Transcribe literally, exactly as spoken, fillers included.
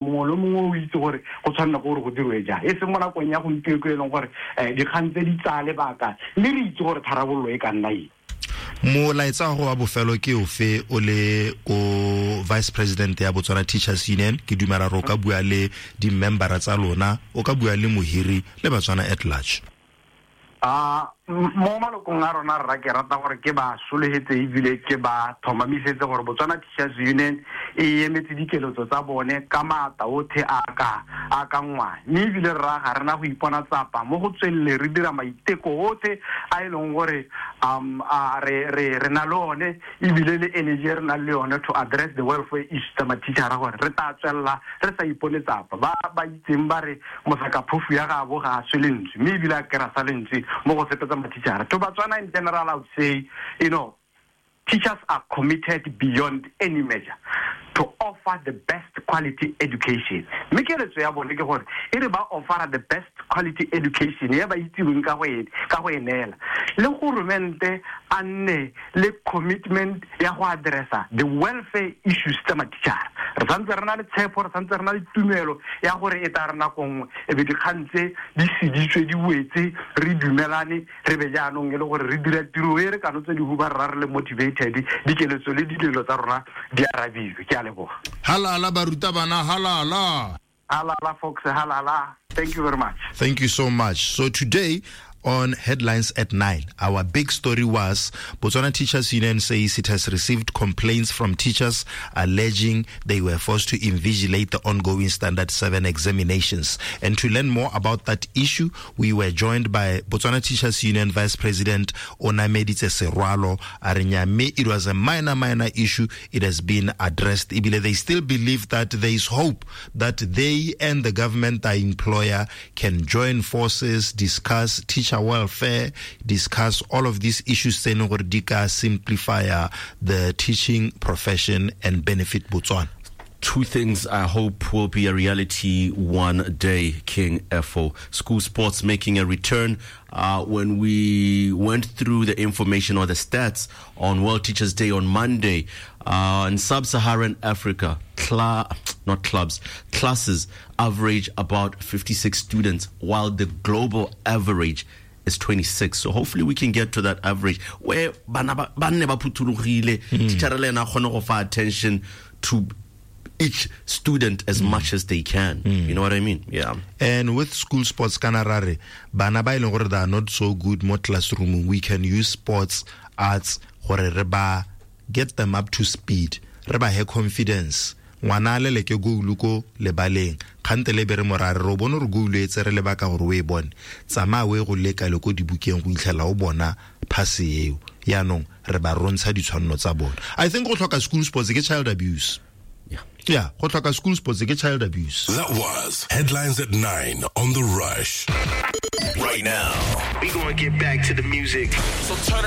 Mongwe le mongwe o itse gore go tshwanela gore go dirwe jang, e seng mo nakong ya gompieno e leng gore um dikgang tse di tsaya lebaka, mme re itse gore tharabololo e ka nna eng. Molaetsa go wa bofelo ke ofe o le ko vice president ya Botswana Teachers Union? Ke dumela re o ka bua le di-membera tsa lona, o ka bua le mohiri le Batswana at large. A mo malokong a rona, rra, ke rata gore ke ba sologetse ebile ke ba tlhomamisetse gore Botswana Teachers Union e emetse dikeletso tsa bone ka maatla otlhe a ka a ka nngwang, mme ebile rra ga rena go ipona tsapa mo go tswelele re dira maiteko otlhe a e leng gore um a re re re na le one, ebile le energy e re nang le yone to address the welfare issues tsa mathichara, gore re tla tswelela re sa ipone tsapa. Ba ba itseng ba re mosaka phofu ya gabo ga a swe lentswe, mme ebile a kry-a sa lentswe mo go sepe tsa mathichara. To Batswana in general, I would say, you know teachers are committed beyond any measure to offer the best quality education, mme keletso ya bone ke gore e re ba offera the best quality education e ba itseweng ka go e ka go e neela, le goromente a nne le commitment ya go addressa the welfare issues tsa mathichara. Re santse re na le tshepo, re santse re na le tumelo ya gore e tla re nako nngwe e be dikgang tse di seditswe, di wetse, re dumelane, re be jaanong e le gore re dira tiro e re kano tse di huba rra re le motivated, dikeletso le dilelo tsa rona di arabilwe. Ke a leboga. Halala barutabana, halala. Halala Fox, halala. Thank you very much. Thank you so much. So today on Headlines at nine, our big story was Botswana Teachers Union says it has received complaints from teachers alleging they were forced to invigilate the ongoing Standard seven examinations. And to learn more about that issue, we were joined by Botswana Teachers Union Vice President Onameditse Serwalo Arinyame. It was a minor, minor issue. It has been addressed. Ebile they still believe that there is hope that they and the government, the employer, can join forces, discuss teacher welfare, discuss all of these issues tse e leng gore di ka simplify the teaching profession and benefit Botswana. Two things I hope will be a reality one day, King F O. School sports making a return. Uh, when we went through the information or the stats on World Teachers Day on Monday, uh, in sub-Saharan Africa, cla- not clubs, classes average about fifty-six students, while the global average is twenty-six. So hopefully we can get to that average where bana ba ba nne ba phuthologile, teacher le ena a kgone go fa attention to each student as much as they can. You know what I mean? Yeah. And with school sports, kana ra re bana ba e leng gore they are not so good mo classroom, we can use sports, arts gore re ba get them up to speed, re ba he confidence. Ngwana a leleke goulu ko lebaleng, kgante le be re morare re o bone gore goulu e tsere lebaka gore o e bone, tsamaya o e go leka le ko dibukeng go itlhela o bona phase eo. Yaanong re ba rontsha ditshwanelo tsa bone. I think go tlhoka school sports ke child abuse. Yeah. Yeah, go tlhoka school sports ke child abuse. That was Headlines at nine on The Rush. Right now, we gonna get back to the music. So turn